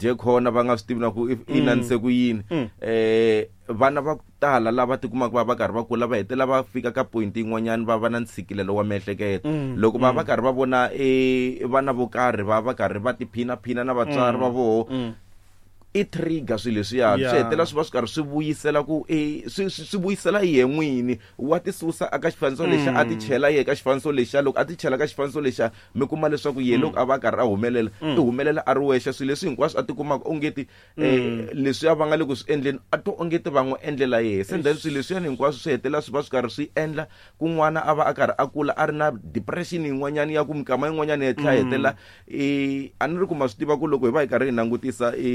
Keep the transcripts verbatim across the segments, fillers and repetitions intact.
dye khona va nga swi tivi na ku i nanise ku yini. Eh vana va tala lava tikumaka va va karhi va kula va hetelela va fika ka point yin'wanyana va va na ntshikelelo wa miehleketo. Loko va va karhi va vona e vana vo karhi va va karhi va tiphinaphina na vatswari va voho, i trigger swilo leswiya swi hetelela swi va swi karhi swi vuyisela ku e swi swi vuyisela yehe n'wini wa ti susa aka xifaniso lexa a ti chela yehe ka xifaniso lexa. Loko a ti chela ka xifaniso lexa mi kuma leswaku yehe loko a va karhi a humelela i humelela a ri wexe. Swilo leswi hinkwaswo a ti kumaka ongeti leswiya va nga le ku swi endleni a to ongeti va n'wi endlela yehe. Se then swilo leswiyani hinkwaswo swi hetelela swi va swi karhi swi endla ku n'wana a va a karhi a kula a ri na depression yin'wanyana ya ku mikama yin'wanyana yi tlhela hetelela i a ni ri ku ma swi tiva ku loko hi va hi karhi hi langutisa i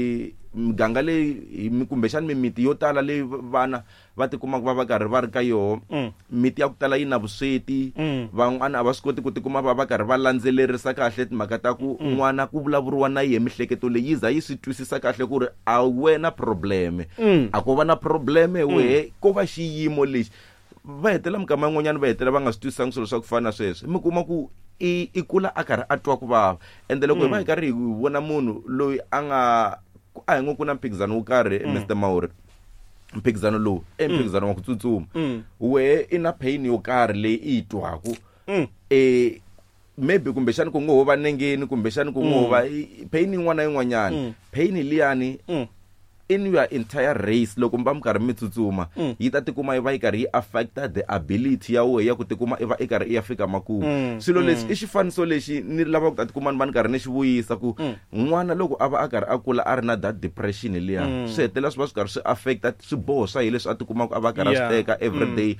miganga leyi kumbexani mimiti yo tala leyi vana va tikumaka va va karhi va ri ka yoho, miti ya ku tala yi na vusweti, van'wana a va swi koti ku tikuma va va karhi va landzelerisa kahle timhaka ta ku n'wana ku vulavuriwa na yehe mihleketo leyi yi za yi swi twisisa kahle ku ri a wena probleme, a ko va na probleme wehe, ko va xiyimo lexi. Va hetelela mikama yin'wanyana va hetelela va nga swi twisisangi swilo swa ku fana na sweswo. Mi kuma ku i i kula a karhi a twa ku vava. Ende loko hi va hi karhi hi vona munhu loyi a nga a hi ngo ku na mphikizano wo karhi, Mister Mauri, mphikizano lowu i mphikizano wa ku tsutsuma, wehe i na pain yo karhi leyi i yi twaku, eh maybe kumbexani ku ngo ho va nengeni, kumbexani ku ngo ho va pain yin'wana na yin'wanyana, pain liyani in your entire race loko mi va mi karhi mi tsutsuma yi ta tikuma yi va yi karhi yi affecta the ability ya wehe ya ku tikuma i va i karhi i ya fika makumu. Swilo leswi i xifaniso lexi ni lava ku ta tikuma ni va ni karhi ni xi vuyisa ku n'wana loko a va a karhi a kula a ri na that depression liya, swi hetelela swi va swi karhi swi affecta swiboho swa yena leswi a tikumaka a va karhi a swi teka every day.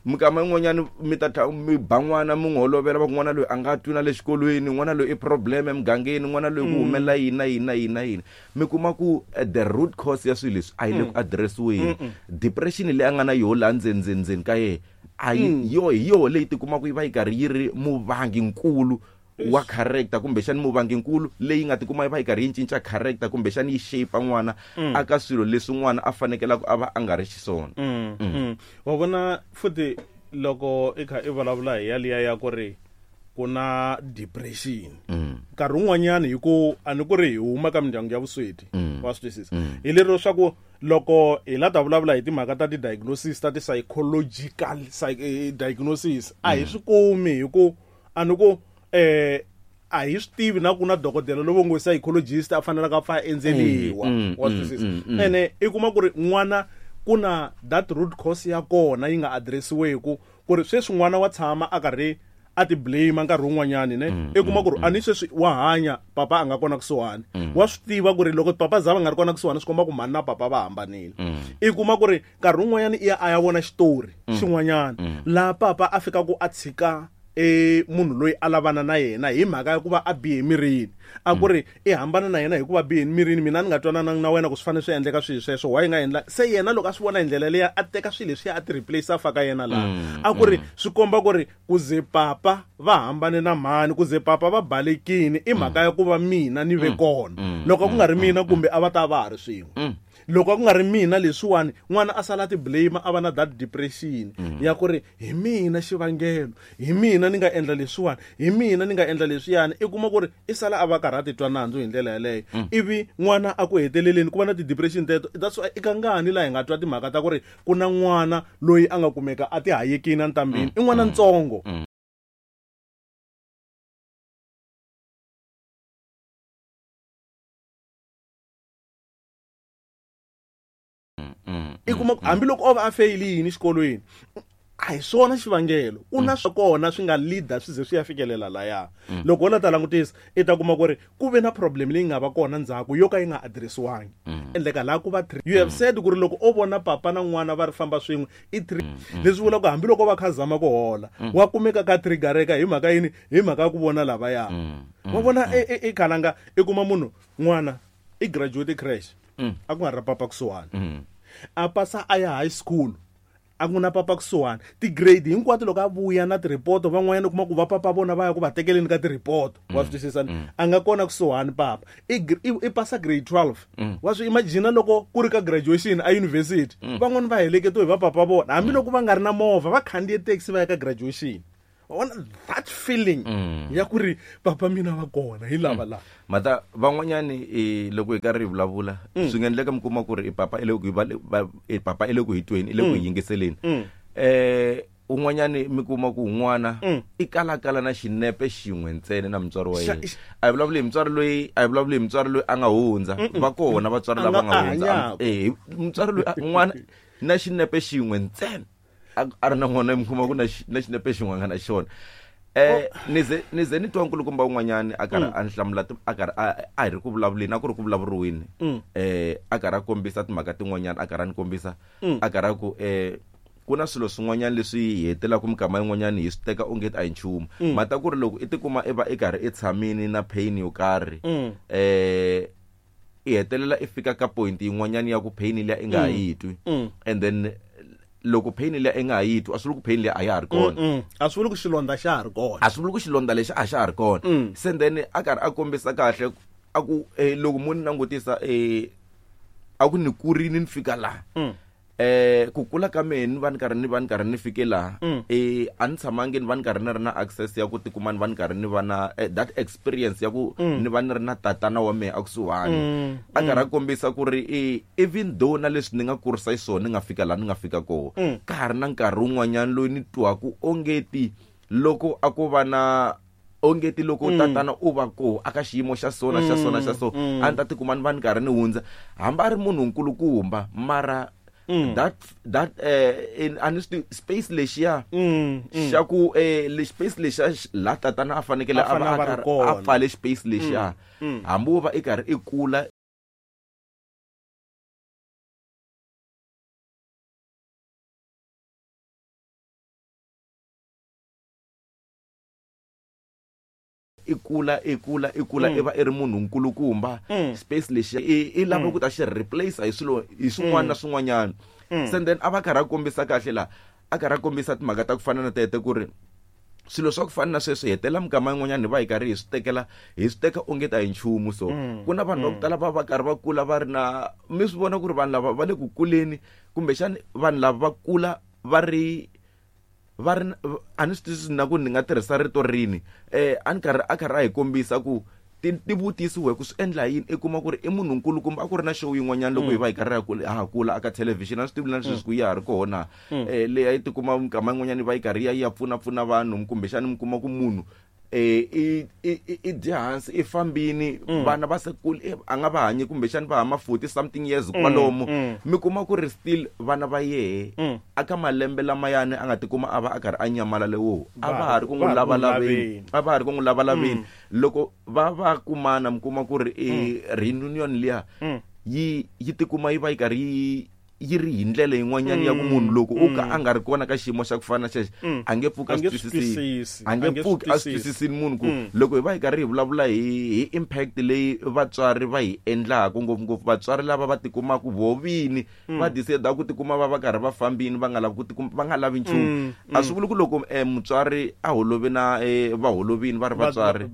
Mikama yin'wanyana mi ta tlha mi ba n'wana mi n'wi holovela va ku n'wana loyi a nga twi na le xikolweni, n'wana loyi i problem emugangeni, n'wana loyi ku humelela yini na yini na yini na yini. Mi kuma ku the root cause ya swilo leswi a yi le ku addressiweni. Depression leyi a nga na yoho laha ndzeni ndzeni ndzeni ka yena a yi yo hi yoho leyi tikumaka yi va yi karhi yi ri muvanginkulu wa character, kumbexani muvanginkulu leyi nga tikuma yi va yi karhi yi cinca character, kumbexani yi shape n'wana aka swilo leswi n'wana a fanekelaka a va a nga ri xiswona. Wa vona futhi loko i kha i vulavula hi yaliya ya ku ri ku na depression, nkarhi wun'wanyana hi ku a ni ku ri hi huma ka mindyangu ya vusweti, wa swi twisisa, hi lero swa ku loko hi la ta vulavula hi timhaka ta ti-diagnosis ta ti-psychological diagnosis a hi swi kumi hi ku a ni ku eh a hi swi tivi na ku na dokodela lovo ngo psychologist a fanelaka a pfa a endzeliwa, wa swi twisisa. Ene i kuma ku ri n'wana ku na that root cause ya kona yi nga addressiweku ku ri sweswi n'wana wa tshama a karhi a ti blame nkarhi wun'wanyani ne, i kuma ku ri a ni sweswi wa hanya papa a nga kona kusuhani, wa swi tiva ku ri loko papa za va nga ri kona kusuhani swi komba ku mhani na papa va hambanile. I kuma ku ri nkarhi wun'wanyani i ya a ya vona xitori xin'wanyana laha papa a fika ku a tshika e munhu loyi a lavana na yena hi mhaka ya ku va a bihe mirini, a ku ri i hambana na yena hikuva bihe mirini, mina ni nga twanananga na wena ku swi fanele swi endleka swilo sweswo, why nga endla se yena loko a swi vona hi ndlela leya a teka swilo leswiya a ti replace a faka yena laha, a ku ri swi komba ku ri ku ze papa va hambane na mhani, ku ze papa va balekini i mhaka ya ku va mina ni ve kona, loko ku nga ri mina kumbe a va ta va ha ri swin'we, loko ku nga ri mina leswiwani n'wana a sala ti blame a va na that depression ya ku ri hi mina xivangelo, hi mina ni nga endla leswiwani, hi mina ni nga endla leswiyani. I kuma ku ri i sala a va karhi a titwa nandzu hi ndlela yaleyo, ivi n'wana a ku heteleleni ku va na ti-depression teto. That's why i kangani laha hi nga twa timhaka ta ku ri ku na n'wana loyi a nga kumeka a ti hayekini entambheni, i n'wana ntsongo. I kuma hambiloko o va a feyilini xikolweni a hi swona xivangelo, ku na swa kona swi nga leader swi ze swi ya fikelela laya. Loko wo la ta langutisa i ta kuma ku ri ku ve na problem leyi nga va kona ndzhaku yo ka yi nga addressiwangi, endleka laha ku va three. You have said ku ri loko o vona papa na n'wana va ri famba swin'we i three, leswi vulaka ku hambiloko va kha zama ku hola wa kumeka ka triggereka hi mhaka yini, hi mhaka ya ku vona lavaya. Wa vona i khalanga i kuma munhu n'wana i graduate crash a ku nga ri papa kusuhani, a pasa a ya high school a ku na papa kusuhani, ti-grade hinkwato loko a vuya na ti-report van'wanyana u kuma ku va papa vona va ya ku va tekeleni ka ti-report, wa swi twisisa, a nga kona kusuhani papa i i pasa grade twelve, wa swi imagine loko ku ri ka graduation a university van'wani va heleketiwe hi va papa vona hambiloko va nga ri na movha va khandziye taxi va ya ka graduation. Wa vona that feeling ya ku ri papa mina va kona hi lava la. Mata van'wanyani e loko hi karhi hi vulavula swi nga endleka mi kuma ku ri i papa i le ku i papa i le ku hi tweni i le ku yingiseleni. Eh un'wanyani mi kuma ku n'wana i kalakala na xinepe xin'we ntsena na mutswari wa yena. A hi vulavuli hi mutswari loyi a hi vulavuli hi mutswari loyi a nga hundza va kona vatswari lava nga hundza eh mutswari loyi n'wana na xinepe xin'we ntsena a ri na n'wana mi kuma ku na na xinepe xin'we nga na xona. Eh nize nize ni twa nkulukumba un'wanyani a karhi a hlamula a karhi a hi ri ku vulavuleni a ku ri ku vulavuriweni eh a karhi a kombisa timhaka tin'wanyana a karhi a ni kombisa a karhi a ku eh ku na swilo swin'wanyana leswi hi hetelaka mikama yin'wanyana hi swi teka onge a hi nchumu. Mata ku ri loko i tikuma i va i karhi i tshamini na pain yo karhi eh i hetelela i fika ka point yin'wanyana ya ku pain liya i nga ha yi twi and then loko pain liya i nga ha yi twi a swi vuli ku pain liya a ya ha ri kona, a swi vuli ku xilondza xa ha ri kona, a swi vuli ku xilondza lexi a xa ha ri kona. Se then a karhi a kombisa kahle a ku loko mo ni langutisa eh a ku ni kurini ni fika laha eh ku kula ka mehe ni va ni karhi ni va ni karhi ni fike laha eh a ni tshamangi ni va ni karhi ni ri na access ya ku tikuma ni va ni karhi ni va na that experience ya ku ni va ni ri na tatana wa mehe a kusuhani. A karhi a kombisa ku ri even though na leswi ni nga kurisa xiswona ni nga fika laha ni nga fika kona ka ha ri na nkarhi wun'wanyana loyi ni twaku ongeti loko a ko va na ongeti loko tatana u va ko aka xiyimo xa sona xa sona xa so a ni ta tikuma ni va ni karhi ni hundza hambi a ri munhu nkulukumba mara Mm. that that eh in honestly space lexiya xa ku eh le space lexiya la tatana a fanekele a va a pfale space lexiya hambi wo va i karhi i kula i kula i kula i kula i va i ri munhu nkulukumba space lexiya i lava ku ta xi replace hi swilo hi swin'wana na swin'wanyana. Se then a va karhi a kombisa kahle la a karhi a kombisa timhaka ta ku fana na tete ku ri swilo swa ku fana na sweswo hetela mikama yin'wanyana hi va hi karhi hi swi tekela hi swi teka onge ta hi nchumu. So ku na vanhu va ku tala va va karhi va kula va ri na mi swi vona ku ri vanhu lava va le ku kuleni kumbexani vanhu lava va kula va ri va ri a ni swi twisisi na ku ni nga tirhisa rito rini eh a ni karhi a karhi a hi kombisa ku ti ti vutisiwe ku swi endla yini i kuma ku ri i munhu nkulukumba a ku ri na show yin'wanyana loko hi va hi karhi ha ha kula aka television a swi tivi na sweswi ku ya ha ri kona eh leyi a yi tikuma mikama yin'wanyana yi va yi karhi ya ya pfuna pfuna vanhu kumbexani mi kuma ku munhu eh i i i dya hansi i fambini vana va se kule a nga va hanyi kumbexani va hama forty something years kwalomo mi kuma ku ri still vana va yehe aka malembe lamayani a nga tikuma a va a karhi a nyamala lewo a va ha ri ku n'wi lavalaveni a va ha ri ku n'wi lavalaveni loko va va kumana mi kuma ku ri reunion liya yi yi tikuma yi va yi karhi yi yi ri hi ndlela yin'wanyana ya ku munhu loko u ka a nga ri kona ka xiyimo xa ku fana na xexo a nge pfuki a swi twisisi a nge pfuki a swi twisisini munhu ku loko hi va hi karhi hi vulavula hi hi impact leyi vatswari va hi endlaka ngopfungopfu vatswari lava va tikumaka vovini va decide ku tikuma va va karhi va fambini va nga lavi ku tikuma va nga lavi nchumu. A swi vuli ku loko mutswari a holovi na va holovini va ri vatswari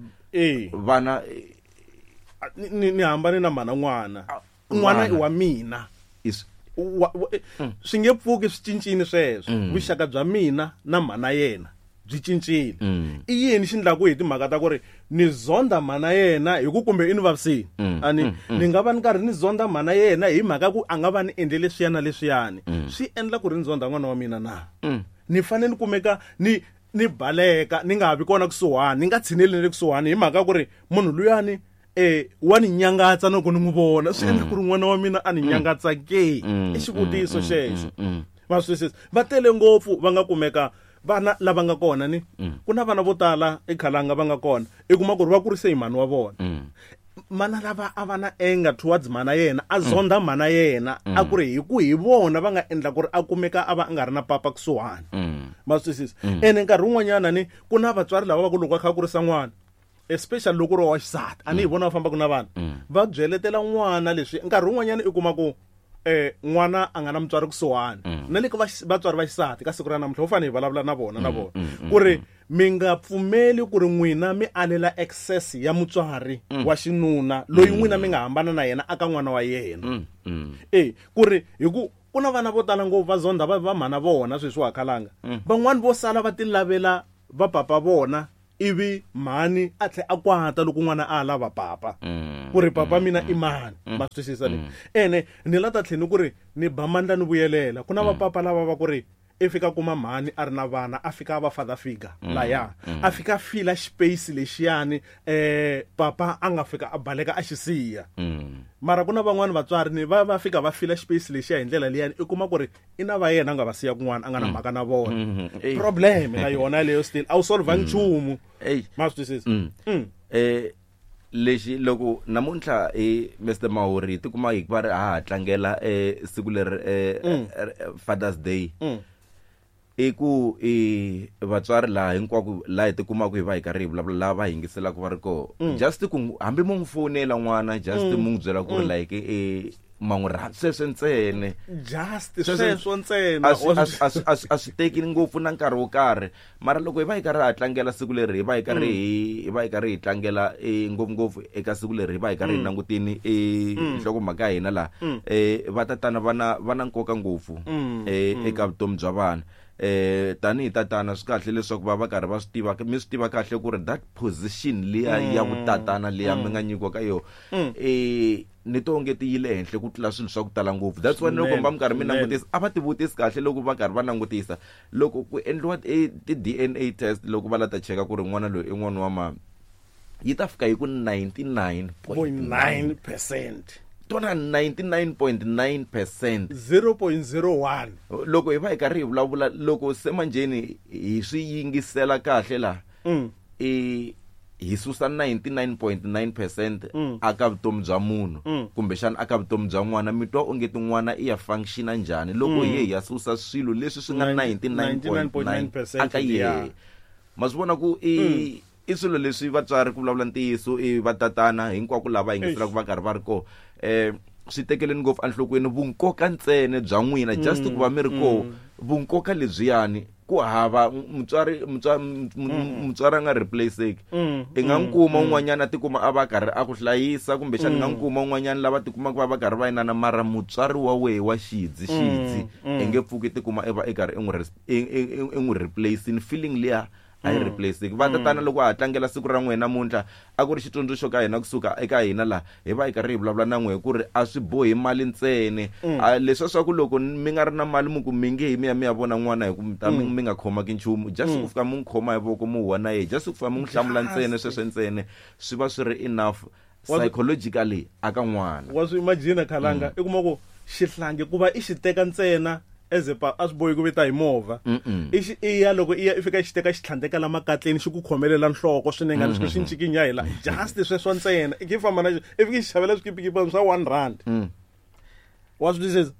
vana ni ni hambane na mhana n'wana n'wana i wa mina swi nge pfuki swi cincile sweswo vuxaka bya mina na mhana yena byi cincile. I yini xi endlaku hi timhaka ta ku ri ni zonda mhana yena hi ku kumbe i ni vavisini ani ni nga va ni karhi ni zonda mhana yena hi mhaka ku a nga va ni endle leswiya na leswiyani swi endla ku ri ni zonda n'wana wa mina na ni fanele ni kumeka ni ni baleka ni nga ha vi kona kusuhani ni nga tshineli na le kusuhani hi mhaka ku ri munhu luyani eh wa ni nyangatsa loko ni n'wi vona swi endla ku ri n'wana wa mina a ni nyangatsa ke i xivutiso xexo. Va swi twisisa va tele ngopfu va nga kumeka vana lava nga kona ni ku na vana vo tala ekhalanga va nga kona i kuma ku ri va kurise hi mhani wa vona mana lava a va na anger towards mana yena a zonda mana yena a ku ri hi ku hi vona va nga endla ku ri a kumeka a va a nga ri na papa kusuhani. Ma swi twisisa ene nkarhi wun'wanyana ni ku na vatswari lava va ku loko va kha kurisa n'wana especially loko ri wa xisati a ni hi vona va fambaka na vana va byeletela n'wana leswi nkarhi wun'wanyana i kuma ku eh n'wana a nga na mutswari kusuhani na le ka vatswari va xisati ka siku ra namuntlha ho fanele hi vulavula na vona na vona ku ri mi nga pfumeli ku ri n'wina mi alela access ya mutswari wa xinuna loyi n'wina mi nga hambana na yena aka n'wana wa yena eh ku ri hi ku ku na vana vo tala ngopfu va zonda va va mhana vona sweswi wa khalanga van'wani vo sala va ti lavela va papa vona ivi mhani a tlhe a kwata loko n'wana a lava papa ku ri papa mina i mani ma swi twisisa ni ene ni la ta tlheni ku ri ni ba mandla ni vuyelela ku na vapapa lava va ku ri i fika kuma mhani a ri na vana a fika a va father figure laya a fika fila space lexiyani eh papa a nga fika a baleka a xi siya mara ku na van'wani vatswari ni va va fika va fila space lexiya hi ndlela liyani i kuma ku ri i na va yena a nga va siya kun'wana a nga na mhaka na vona problem na yona leyo still a wu solve nchumu ma swi twisisa eh lexi loko namuntlha i Mister Mahori tikuma hi va ri ha tlangela eh siku leri eh Father's Day i ku i vatswari laha hinkwako laha hi tikumaka hi va hi karhi hi vulavula lava va yingiselaka va ri koho just ku hambi mo n'wi fonela n'wana just mo n'wi byela ku ri like i ma n'wi rhandza sweswo ntsena just sweswo ntsena a swi teki ngopfu na nkarhi wo karhi mara loko hi va hi karhi ha tlangela siku leri hi va hi karhi hi va hi karhi hi tlangela ngopfungopfu eka siku leri hi va hi karhi hi langutini nhlokomhaka ya hina laha vatatana va na va na nkoka ngopfu eka vutomi bya vana eh tanihi tatana swi kahle leswaku va va karhi va swi tiva mi swi tiva kahle ku ri that position liya ya vutatana liya mi nga nyikiwa ka yona eh ni to nge ti yile henhla ku tlula swilo swa ku tala ngopfu that's why loko va mi karhi mi langutisa a va ti vutisi kahle loko va karhi va langutisa loko ku endliwa ti D N A test loko va la ta cheka ku ri n'wana loyi i n'wana wa mama yi ta fika hi ku ninety-nine point nine percent tona ninety-nine point nine percent zero point zero one loko hi va hi karhi hi vulavula loko se manjeni hi swi yingisela kahle la i hi susa ninety-nine point nine percent aka vutomi bya munhu kumbexana aka vutomi bya n'wana mi twa onge tin'wana i ya functiona njhani loko hi hi ya susa swilo leswi swi nga ninety-nine point nine percent aka yehe ma swi vona ku i i swilo leswi vatswari ku vulavula ntiyiso i vatatana hinkwako lava yingiselaka va karhi va ri koho eh swi tekeleni ngopfu enhlokweni vunkoka ntsena bya n'wina just ku va mi ri koho vunkoka lebyiyani ku hava mutswari mutswari a nga replaceki i nga n'wi kuma un'wanyana a tikuma a va karhi a ku hlayisa kumbexana i nga n'wi kuma un'wanyana lava tikumaka va va karhi va inana mara mutswari wa wehe wa xidzi xidzi i nge pfuki tikuma i va i karhi i n'wi i n'wi replacing feeling liya a yi replace va tatana loko ha tlangela siku ra n'wina namuntlha a ku ri xitsundzuxo ka hina kusuka eka hina laha hi va hi karhi hi vulavula na n'we ku ri a swi bohi mali ntsena leswiya swa ku loko mi nga ri na mali mi ku mi nge hi mi ya mi ya vona n'wana hi ku mi ta mi nga khomaki nchumu just ku fika mi n'wi khoma hi voko mi huwa na yehe just ku fika mi n'wi hlamula ntsena sweswo ntsena swi va swi ri enough psychologically aka n'wana wa swi imagine khalanga i kuma ku xihlangi ku va i xi teka ntsena as a a swi bohi ku vita hi movha i xi i ya loko i ya i fika xi teka xi tlhandleka la makatleni xi ku khomelela nhloko swinene leswi xi ncikinya hi la just sweswo ntsena i ki famba na xi i fika xi xavela swikipikipani swa one rand wa swi twisisa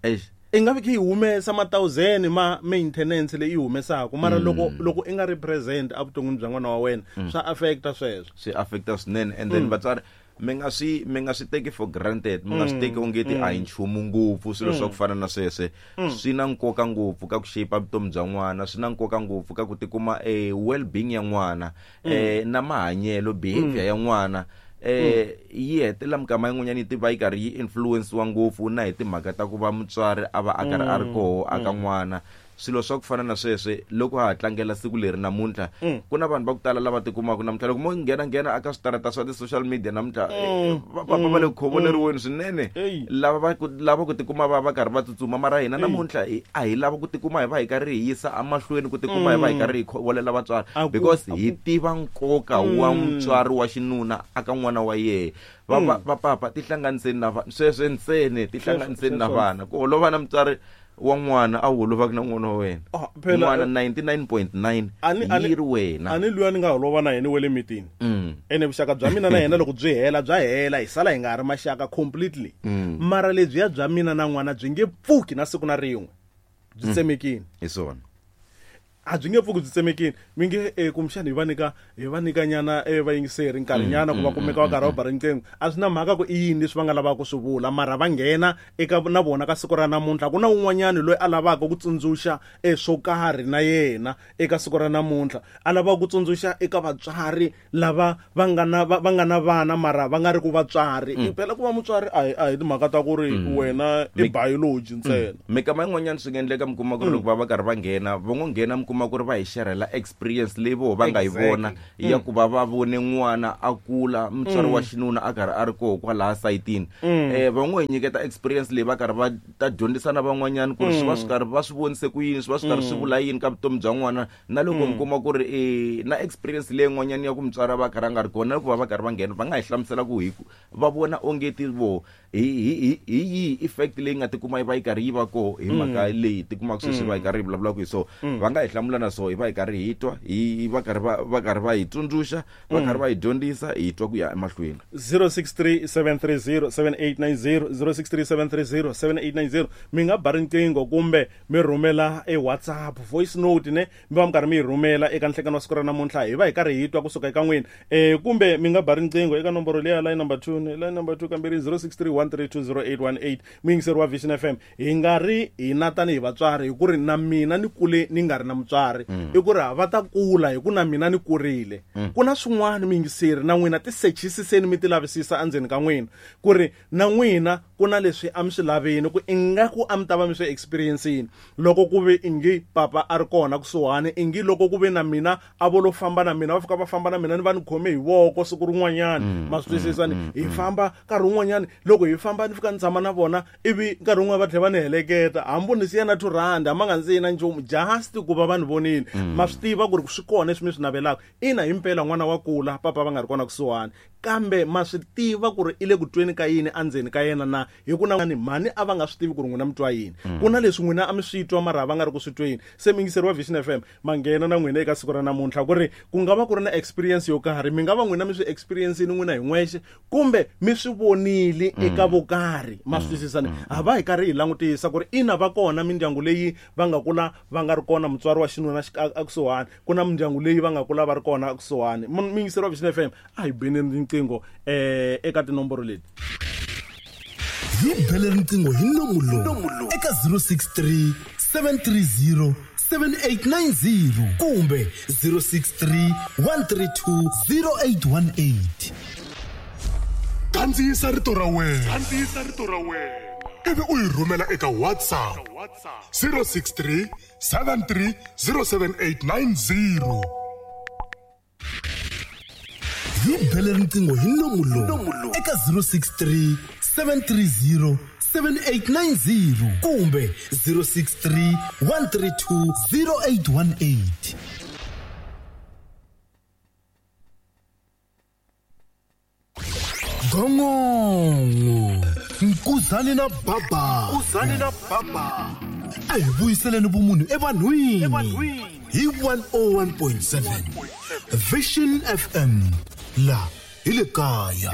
i nga fiki yi humesa ma thousand ma maintenance leyi yi humesaka mara loko loko i nga ri present evuton'wini bya n'wana wa wena swa affecta sweswo swi affecta swinene and then vatswari mi nga swi mi nga swi teki for granted mi nga swi teki onge ti a hi nchumu ngopfu swilo swa ku fana na sweswe swi na nkoka ngopfu ka ku shape vutomi bya n'wana swi na nkoka ngopfu ka ku tikuma e well being ya n'wana eh na mahanyelo behavior ya n'wana eh yi hetelela mikama yin'wanyana yi tiva yi karhi yi influence-wa ngopfu na hi timhaka ta ku va mutswari a va a karhi a ri koho aka n'wana swilo swa ku fana na sweswe loko ha tlangela siku leri namuntlha ku na vanhu va ku tala lava tikumaka namuntlha loko mo nghena nghena aka switarata swa ti-social media namuntlha va va le ku khovoleriweni swinene lava va lava ku tikuma va va karhi va tsutsuma mara hina namuntlha a hi lava ku tikuma hi va hi karhi hi yisa emahlweni ku tikuma hi va hi karhi hi khovolela vatswari because hi tiva nkoka wa mutswari wa xinuna aka n'wana wa yehe va va papa tihlanganiseni na vana sweswe ntsena tihlanganiseni na vana ku holova na mutswari wa n'wana a wu holovaka na n'wana wa wena n'wana ninety-nine point nine yi ri wena a ni luya ni nga holova na yena we le mitini ene vuxaka bya mina na yena loko byi hela bya hela hi sala hi nga ha ri maxaka completely mara lebyiya bya mina na n'wana byi nge pfuki na siku na rin'we byi tsemekini hi swona a byi nge pfuki byi tsemekini mi nge e kumbexana hi va nyika hi va nyika nyana e vayingiseri nkarhinyana ku va kumeka va karhi va ba riqingho a swi na mhaka ku i yini leswi va nga lavaka ku swi vula mara va nghena eka na vona ka siku ra namuntlha ku na un'wanyana loyi a lavaka ku tsundzuxa e swo karhi na yena eka siku ra namuntlha a lavaka ku tsundzuxa eka vatswari lava va nga na va nga na vana mara va nga ri ku vatswari phela ku va mutswari a hi a hi timhaka ta ku ri wena i biology ntsena mikama yin'wanyana swi nga endleka mi kuma ku ri loko va va karhi va nghena va ngo nghena mi kuma tikuma ku ri va hi xerhela experience leyi voho va nga yi vona ya ku va va vone n'wana a kula mutswari wa xinuna a karhi a ri koho kwalaha sayitini. Eh van'we hi nyiketa experience leyi va karhi va ta dyondzisa na van'wanyana ku ri swi va swi karhi va swi vonise ku yini, swi va swi karhi swi vula yini ka vutomi bya n'wana. Na loko mi kuma ku ri eh na experience leyi n'wanyana ya ku mutswari va karhi a nga ri kona, loko va va karhi va nghena va nga hi hlamusela ku hi va vona onge ti vo hi hi hi yi effect leyi nga tikuma yi va yi karhi yi va koho hi mhaka leyi tikumaka sweswi va yi karhi yi vulavulaka hi so. Va nga hi hlamula na so hi va hi karhi hi twa, hi va karhi va va karhi va hi tsundzuxa, va karhi va hi dyondzisa, hi twa ku ya emahlweni. zero six three seven three zero seven eight nine zero, zero six three seven three zero seven eight nine zero. Mi nga ba riqingho kumbe mi rhumela e WhatsApp voice note ne mi va mi karhi mi yi rhumela eka nhlekano wa siku ra namuntlha, hi va hi karhi hi twa kusuka eka n'wina. Eh kumbe mi nga ba riqingho eka nomboro leya line number two, line number two kambirhi zero six three one three two zero eight one eight. Muyingiseri wa Vision F M, hi nga ri hina tanihi vatswari hi ku ri na mina ni kule ni nga ri na mutswari, i ku ri va ta kula hi ku na mina ni kurile. Ku na swin'wana muyingiseri na n'wina ti sechisiseni mi ti lavisisa endzeni ka n'wina ku ri na n'wina ku na leswi a mi swi laveni ku ingaku a mi ta va mi swi experiencini loko ku ve ingi papa a ri kona kusuhani, ingi loko ku ve na mina a vo lo famba na mina, va fika va famba na mina ni va ni khome hi voko siku rin'wanyana, ma swi twisisa ni hi famba nkarhi wun'wanyana loko hi famba ni fika ni tshama na vona ivi nkarhi wun'wana va tlhela va ni heleketa hambi ni siya na two rand hambi nga ndzi na nchumu, just ku va va ni vonile. Ma swi tiva ku ri swi kona leswi mi swi navelaka. Ina himpela n'wana wa kula papa va nga ri kona kusuhani, kambe ma swi tiva ku ri i le ku tweni ka yini endzeni ka yena na hi ku na mhani a va nga swi tivi ku ri n'wina mi twa yini. Ku na leswi n'wina a mi swi twa mara va nga ri ku swi tweni. Se muyingiseri wa Vision F M ma nghena na n'wina eka siku ra namuntlha ku ri ku nga va ku ri na experience yo karhi, mi nga va n'wina mi swi experiencini n'wina hi n'wexe kumbe mi swi vonile eka vo karhi, ma swi twisisa ni ha va hi karhi hi langutisa ku ri ina va kona mindyangu leyi va nga kula va nga ri kona mutswari wa xinuna ekusuhani, ku na mindyangu leyi va nga kula va ri kona ekusuhani. Muyingiseri wa Vision F M a hi beni riqingho eh eka tinomboro leti. Hi bele riqingho hi nomu lowu eka zero six three seven three zero seven eight nine zero kumbe zero six three one three two zero eight one eight. Kandziyisa rito ra wena, kandziyisa rito ra wena ivi u yi rhumela eka WhatsApp zero six three seven three zero seven eight nine zero. Hi bele riqingho hi nomu lowu eka zero six three seven three zero seven eight nine zero kumbe zero six three one three two zero eight one eight. Gongongo Nkuzani na Baba, Nkuzani na Baba, a hi vuyiseleni vumunhu evanhwini hi one oh one point seven Vision F M la hi le kaya.